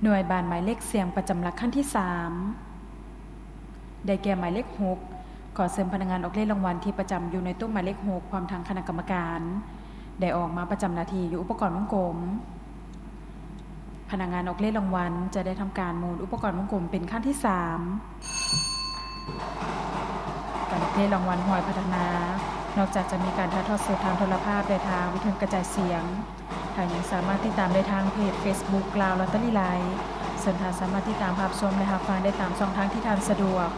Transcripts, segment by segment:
ໜ່ວຍບານໝາຍເລກສ່ຽງປະຈຳຫຼັກຄັນທີສາມ ໄດ້ແກ່ໝາຍເລກຫົກ. ຂໍເຊີນພະນັກງານອອກເລກລາງວັນທີ່ປະຈຳຢູ່ໃນໂຕະໝາຍເລກຫົກ ພ້ອມທັງຄະນະກຳມະການ ໄດ້ອອກມາປະຈຳໜ້າທີ່ຢູ່ອຸປະກອນວົງກົມ. ພະນັກງານອອກເລກລາງວັນຈະໄດ້ທຳການໝູນອຸປະກອນວົງກົມເປັນຄັ້ງທີສາມ. ການອອກເລກລາງວັນຫວຍພັດທະນາ ນອກຈາກຈະມີການຖ່າຍທອດສົດທາງໂທລະພາບ ແລະ ທາງວິທະຍຸກະຈາຍສຽງ, ທ່ານຍັງສາມາດຕິດຕາມໄດ້ທາງເພຈເຟສບຸກ ລາວລອດເຕີຣີໄລຟ໌, ເຊິ່ງທ່ານສາມາດຕິດຕາມຮັບຊົມ ແລະ ຮັບຟັງໄດ້ຕາມຊ່ອງທາງທີ່ທ່ານສະດວກ.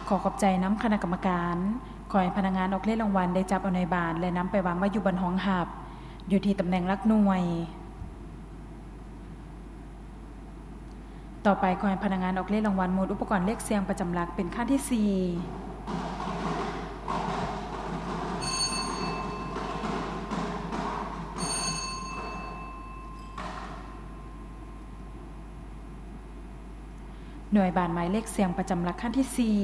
ຂໍຂອບໃຈນຳຄະນະກຳມະການ. ຂໍໃຫ້ພະນັກງານອອກເລກລາງວັນໄດ້ຈັບເອົາໜ່ວຍບານ ແລະ ນຳໄປວາງໄວ້ຢູ່ບ່ອນຮອງຮັບ ຢູ່ທີ່ຕຳແໜ່ງຫຼັກໜ່ວຍ. ຕໍ່ໄປ ຂໍໃຫ້ພະນັກງານອອກເລກລາງວັນໝູນອຸປະກອນເລກສ່ຽງປະຈຳຫຼັກເປັນຄັ້ງທີສີ່. ໜ່ວຍບານໝາຍເລກສ່ຽງປະຈຳຫຼັກຄັ້ງທີສີ່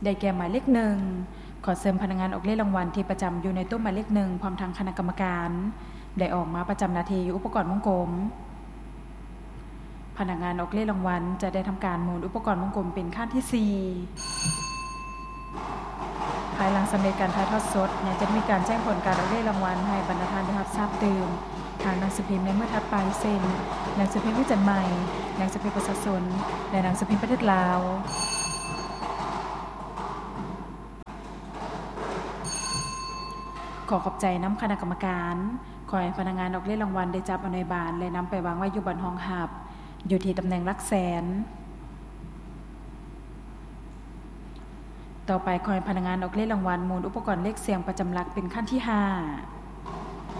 ໄດ້ແກ່ໝາຍເລກໜຶ່ງ. ຂໍເຊີນພະນັກງານອອກເລກລາງວັນທີ່ປະຈຳຢູ່ໃນໂຕະໝາຍເລກໜຶ່ງ ພ້ອມທັງຄະນະກຳມະການ ໄດ້ອອກມາປະຈຳໜ້າທີ່ຢູ່ອຸປະກອນວົງກົມ. ພະນັກງານອອກເລກລາງວັນຈະໄດ້ທຳການໝູນອຸປະກອນວົງກົມເປັນຄັ້ງທີສີ່. ພາຍຫຼັງສຳເລັດການຖ່າຍທອດສົດ ຍັງຈະມີການແຈ້ງຜົນການອອກເລກລາງວັນໃຫ້ບັນດາທ່ານໄດ້ຮັບຊາບຕື່ມ ທາງໜັງສືພິມໃນມື້ຖັດໄປ ເຊັ່ນ ໜັງສືພິມວິຈັນໃໝ່, ໜັງສືພິມປະຊາຊົນ ແລະ ໜັງສືພິມປະເທດລາວ. ຂໍຂອບໃຈນຳຄະນະກຳມະການ. ຂໍໃຫ້ພະນັກງານອອກເລກລາງວັນໄດ້ຈັບເອົາໜ່ວຍບານ ແລະ ນຳໄປວາງໄວ້ຢູ່ບ່ອນຮອງຮັບ ຢູ່ທີ່ຕຳແໜ່ງຫຼັກແສນ. ຕໍ່ໄປ ຂໍໃຫ້ພະນັກງານອອກເລກລາງວັນໝູນອຸປະກອນເລກສ່ຽງປະຈຳຫຼັກເປັນຄັ້ງທີຫ້າ.